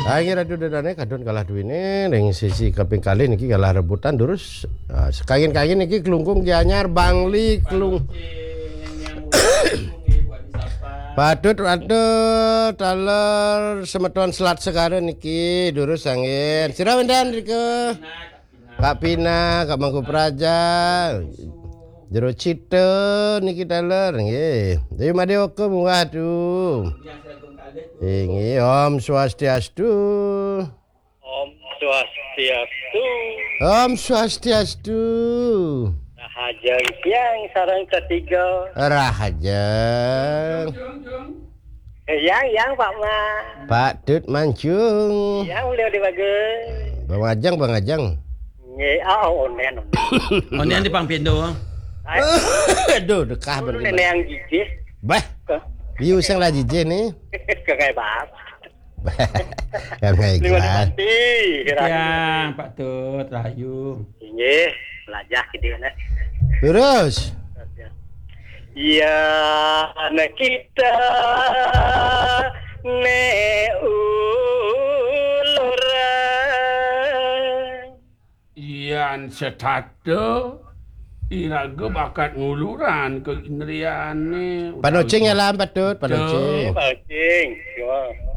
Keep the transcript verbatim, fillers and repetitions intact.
Inggih Ratu Dedane kadon kalah duwene ring sisi kaping kalih niki kalah rebutan durus. Ah, sekangin-kangin niki Klungkung Gianyar Bangli Klung Patut, patut taler semeton Selat Segara niki durus angin. Sira wenten rika? Kak Pina, Kak Mangku Praja, Jero Cita niki taler nggih. Dewi Madewaka munggah tu. Inggih, Om Swastiastu. Om Swastiastu. Om Swastiastu. Rahajeng tiang sareng ketiga. Rahajeng. Eh, yang, yang, Pak Ma. Pak Tut Mancung. Yang beliau di bagus. Bang Ajeng, Bang Ajeng. Nggih, oh, onen, onen. Onen di Pang Pindo. Aduh, dekah bener. Nenek yang gigih. Bah. Ke? Iya, usang lah jijih nih. Ke kayak bapak. Yang kayak Lima gimana? Nanti. Yang Pak Tut Rahayu. Inggih, lajah gedene. Terus? Iya, anak kita ne uluran. Yan setata iraga bakat nguluran ke indriane. Panocing ya lah, Patut, panocing. Panocing, ya.